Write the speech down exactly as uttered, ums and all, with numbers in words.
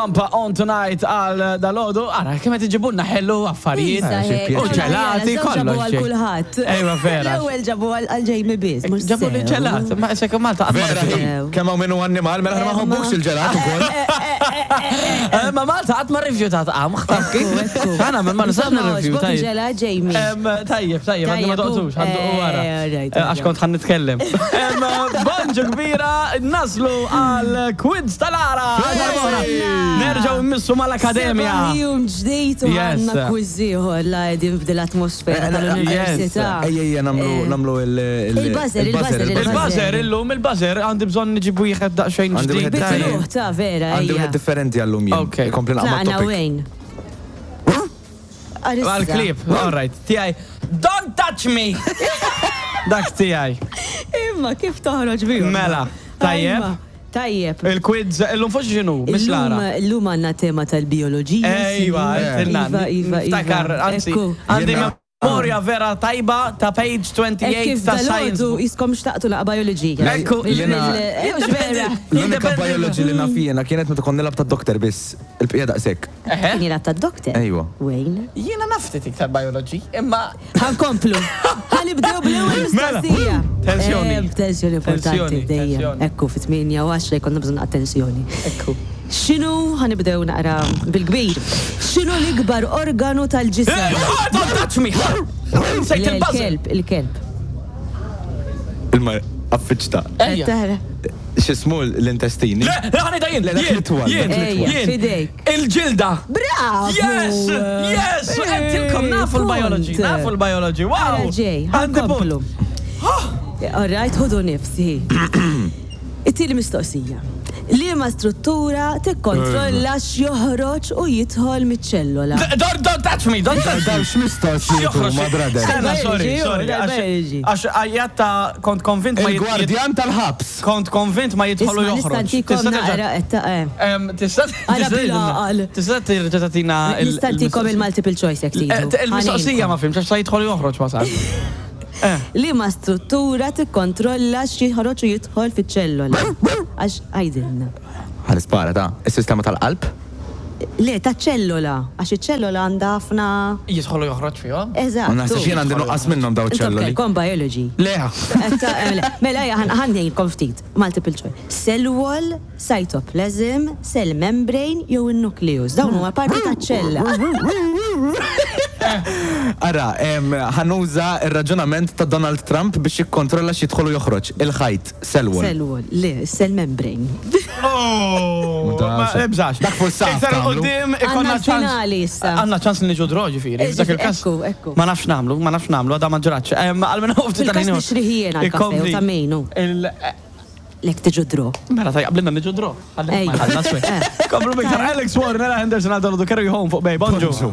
Pampa on tonight għal dalgħodu, ara, kemm qed iġibulna ħellu affarijiet. Eh, U ġelati, Ġabu kollox. għal kulħadd. Ejwa, vera. L-ewwel ġabu għal Jamie biss. mhux Ġabu li sew. ġelat, ma sekk Malta qatt ma Vera, rrifjutat. kemm hawn minnu annimal, mela aħna ma nħobbux il-ġelat ukoll. Eh, Ma Malta qatt ma rrifjutat qamħ, taf kif? Ekku, ekku. Għana, ma nistax Insomma, nirrifjuta. għoġbok il-ġelat, Jamie. Em, Tajjeb, tajjeb, għadni ma Tajjeb, doqtux, għaddu eh, wara. alright, Eh, Għax kont ħan nitkellem. Em, Bonġu kbira, naslu għal quiz tal-ara. Nerġaw immissu mal-akademja. Seba' jum ġdejt u Yes. għandna quiz ieħor la qegħdin f'dil atmosfera Eh, tal-università. Ejja, ejja, namlu Eh, namlu il- il- Il-buzzer, il-buzzer, Il-buzzer, illum il-buzzer, għandi bżonn nġibu wieħed daqsxejn Għandi ġdid. wieħed tajjeb. Bitruħ ta' vera, Għandi ejja. wieħed differenti għallum jien. Ok. Kompli naqma Tlaqna topic. wejn. Arissa. Għal-klip, all right, tiegħi. Don't touch me! Dak tiegħi. Imma kif toħroġ bihom? Mela, tajjeb. Imma, Tajjeb. Il-quiz, illum fuq xinu, Miss Lara. Illum illum għandna tema tal-bioloġija. Ejwa, sinjur. għedtilna. Iva, iva, iva. Niftakar, anzi, Ekku. għandi Jiena- memoria vera tajba ta' page Ek twenty-eight kif ta' science. dal-għodu jiskom xtaqtu laqa bioloġija. Ekku, Jiena- Mhux vera. L-unika Independent. biology li naf jiena kienet meta kont nilgħab tad-doktor biss. Il-bqija daqshekk. Eħe. Kien jilgħab tad-doktor. Ejwa. Wayne. Jiena nafti iktar biology, imma Ħankomplu. Ħanibdew bl-ewwel Mela. mistoqsija. Tensjoni. Eh, Tensjoni importanti Tensjoni, dejjem. tensjoni. Ekku fit-tmienja u għaxra jkollna bżonn attenzjoni. Ekku. X'inhu ħanibdew naqra bil-kbir. X'inhu l-ikbar organu tal-ġisem? Eh, Don't touch me! Sejt Le, il-buzzer. Il-kelb, il-kelb. Il-ma affiċta. Ejja. Tara. X'ismu l-intestini? Le, le, ħanita jien, Le, dak jien, l-itwal, jien, dak l-itwal. jien. Fidejk. Il-ġilda. Bravo! Yes, yes, għedtilkom nafu l-biology, Punt. nafu l-biology, wow. Ara ġej, Għandi ħankomplu. punt. All right, ħudu nifsi. It-tieni mistoqsija. Liema struttura tikkontrolla x'joħroġ u jidħol miċ-ċellola? D- Don't, don't touch me, don't touch me. Daw x'mistoqsijiet huma, brother. Stenna, sorry, Biology, sorry. oh, biology. Għax għajjatta kont konvint ma jit- Il-gwardjan tal-ħabs. Kont konvint ma jidħolu Isma' joħroġ. nista' ntikom Tista' terġa' naqra qed ta' eh. Em, Tista' Ara tista' bil-għaqal. Tista' terġa' tagħtina il- Nista' ntikom il-multiple choice jekk Eh, tridu. t- Il-mistoqsija ma fimx għax sa jidħol joħroġ wasal. Eh, Liema struttura tikkontrolla x'joħroġ u jidħol fiċ-ċellola? Għax għajdilna. Ħal-ispara ta' is-sistema tal-qalb? Le, ta' ċellola, għax iċ-ċellola għandha ħafna. Jidħolu joħroġ fihom? Eżatt. Ma naħseb jien għandi nuqqas minnhom daw Intom ċelloli. kelkom biology. Le. Eh, ta' eh, le. Mela, ejja, ħan- ħan ftit. Multiple choice. Cell wall, cytoplasm, cell membrane jew in-nucleus. Dawn huma parti ta' ċella. Ara, em, ħanuża ir-raġunament ta' Donald Trump biex jikkontrolla x'jidħol u joħroġ. Il-ħajt, cell wall. Cell wall, le, cell membrane. Oh, ma ebżax. Dak fuq saf Iktar tagħmlu. qudiem ikonna Għandna ċans. l-finali issa. Għandna ċans li niġu draw ġifieri. Eh, F'dak il-każ. ekku, ekku. Ma nafx nagħmlu, ma nafx nagħmlu, għadha ma ġratx. Em, Għalmenu ftit Fil-każ tal-ħin. nixrih jien għall-kafe u ta' mejnu. Il- Lek tiġu draw. Mela tajja, qablina niġu draw. Ej. Komplu biktar Alex Warren, Ella Henderson, għal Donald Kerry Home fuq Bay. Bonġu. Bonġu.